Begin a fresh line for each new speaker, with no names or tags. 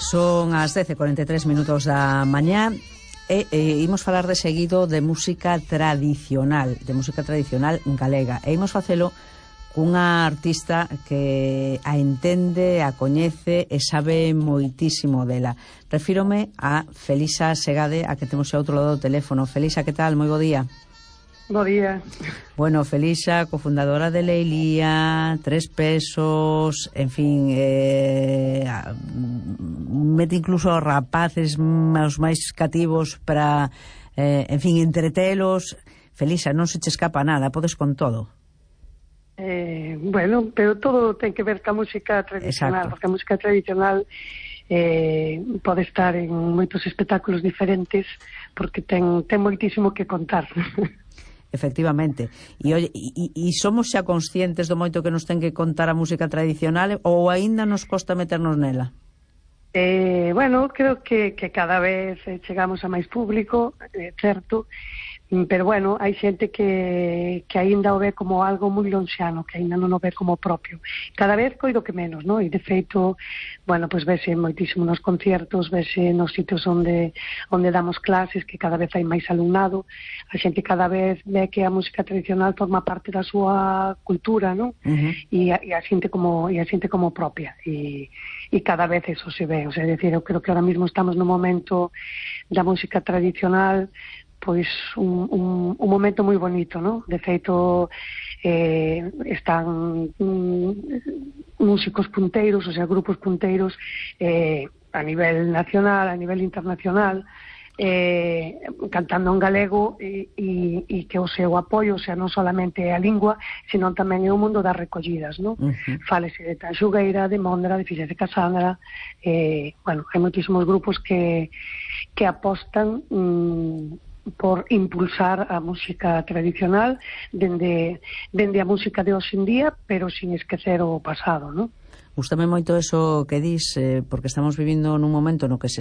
Son as 10:43 da mañá e imos falar de seguido de música tradicional galega, e imos facelo cunha artista que a entende, a coñece e sabe moitísimo dela. Refírome a Felisa Segade, a que temos ao outro lado do teléfono. Felisa, que tal? Moi bo día.
Bo día.
Bueno, Felisa, cofundadora de Leilía, Tres Pesos, en fin, mete incluso aos rapaces, aos máis cativos para, en fin, entretelos. Felisa, non se che escapa nada, podes con todo.
Bueno, pero todo ten que ver ca música tradicional. Exacto. Porque a música tradicional pode estar en moitos espectáculos diferentes, porque ten moitísimo que contar.
Efectivamente. E somos xa conscientes do moito que nos ten que contar a música tradicional, ou aínda nos costa meternos nela?
Bueno, creo que cada vez chegamos a máis público, certo, pero bueno, hai xente que aínda o ve como algo moi lonxano, que aínda non o ve como propio. Cada vez coido que menos, non? E de feito, bueno, pois vese moitísimo nos conciertos, vese nos sitios onde damos clases, que cada vez hai máis alumnado. A xente cada vez ve que a música tradicional forma parte da súa cultura, non? E a xente como propia. E cada vez eso se ve. O sea, é dicir, eu creo que ahora mismo estamos no momento da música tradicional, pois un momento moi bonito, non? De feito, están músicos punteiros, o sea, grupos punteiros a nivel nacional, a nivel internacional, cantando en galego e que o seu apoio, o sea, non solamente a lingua, sino tamén é o mundo das recollidas, non? Fálese de Tanxugueira, de Mondra, de Fixes de Casandra, bueno, hai moitísimos grupos que apostan por impulsar a música tradicional dende a música de hoxe en día, pero sin esquecer o pasado, non?
Gústame moito eso que dis, porque estamos vivindo nun momento no que se